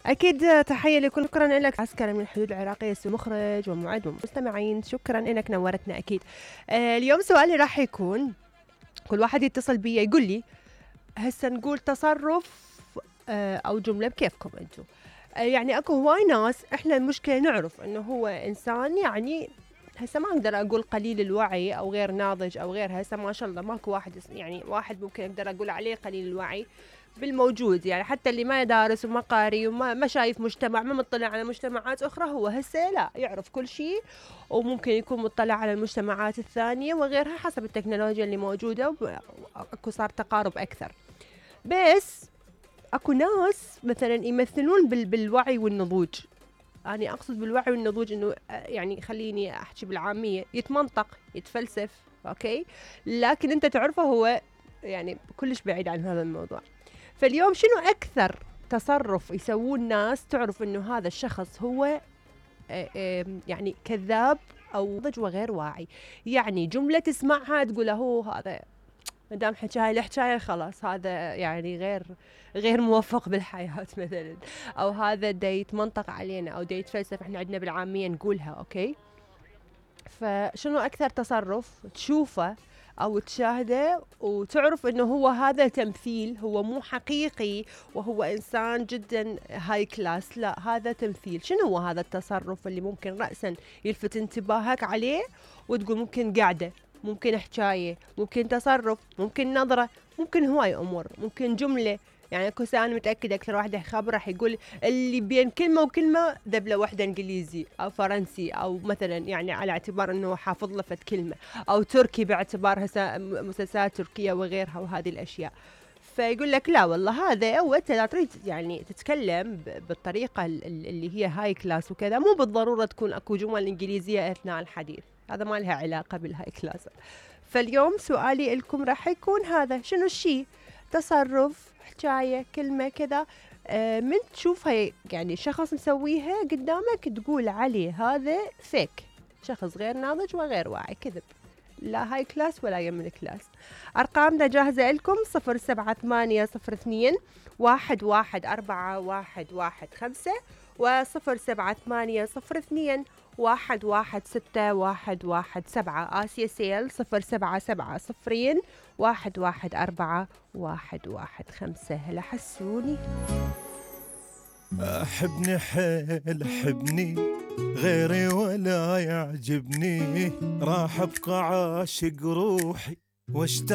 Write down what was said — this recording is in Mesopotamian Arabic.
أكيد تحية لكل، شكرا لك عسكري من الحدود العراقية، مخرج ومعد ومستمعين، شكرا لك نورتنا أكيد. اليوم سؤالي راح يكون كل واحد يتصل بي يقول لي هسه نقول تصرف أو جملة بكيفكم أنتم. يعني أكو هواي ناس إحنا المشكلة نعرف إنه هو إنسان يعني هسه ما أقدر أقول قليل الوعي أو غير ناضج أو غير، هسه ما شاء الله ماكو واحد يعني واحد ممكن أقدر أقول عليه قليل الوعي بالموجود، يعني حتى اللي ما دارس وما قاري وما شايف مجتمع، ما مطلع على مجتمعات أخرى، هو هسه لا يعرف كل شيء، وممكن يكون مطلع على المجتمعات الثانية وغيرها حسب التكنولوجيا اللي موجودة، وأكو صار تقارب أكثر. بس أكو ناس مثلا يمثلون بالوعي والنضوج. أنا أقصد بالوعي والنضوج إنه يعني خليني أحكي بالعامية، يتمنطق يتفلسف، أوكي، لكن أنت تعرفه هو يعني كلش بعيد عن هذا الموضوع. فاليوم شنو أكثر تصرف يسوون ناس تعرف إنه هذا الشخص هو يعني كذاب أو نضج وغير واعي؟ يعني جملة تسمعها تقول هو هذا مدام حكى هاي الحكاية خلاص هذا يعني غير موفق بالحياة مثلا، أو هذا دا يتمنطق علينا أو دا يتفلسف، احنا عندنا بالعامية نقولها، أوكي. فشنو أكثر تصرف تشوفه أو تشاهده وتعرف إنه هو هذا تمثيل، هو مو حقيقي وهو إنسان جدا هاي كلاس، لا هذا تمثيل؟ شنو هو هذا التصرف اللي ممكن رأسا يلفت انتباهك عليه وتقول ممكن قاعدة، ممكن حكاية، ممكن تصرف، ممكن نظرة، ممكن هواي أمور، ممكن جملة؟ يعني اكو أنا متأكدة أكثر واحد خبر راح يقول اللي بين كلمة وكلمة ذبلة واحدة إنجليزي أو فرنسي، أو مثلا يعني على اعتبار أنه حافظ لفت كلمة، أو تركي باعتبار مسلسلات تركية وغيرها وهذه الأشياء. فيقول لك لا والله هذا، وانت لا تريد يعني تتكلم بالطريقة اللي هي هاي كلاس وكذا، مو بالضرورة تكون اكو جمل إنجليزية أثناء الحديث، هذا ما لها علاقة بالهاي كلاس. فاليوم سؤالي لكم راح يكون هذا، شنو الشيء، تصرف، حكاية، كلمة كذا من تشوفها يعني شخص مسويها قدامك تقول عليه هذا فيك، شخص غير ناضج وغير واعي، كذب، لا هاي كلاس ولا يم الكلاس. أرقامنا جاهزة لكم 0782011415 و078021161117. آسيا سيل 0770211415. هلا حسوني. أحبني حيل أحبني، غيري ولا يعجبني، راح أبقى عاشق روحي واشتاق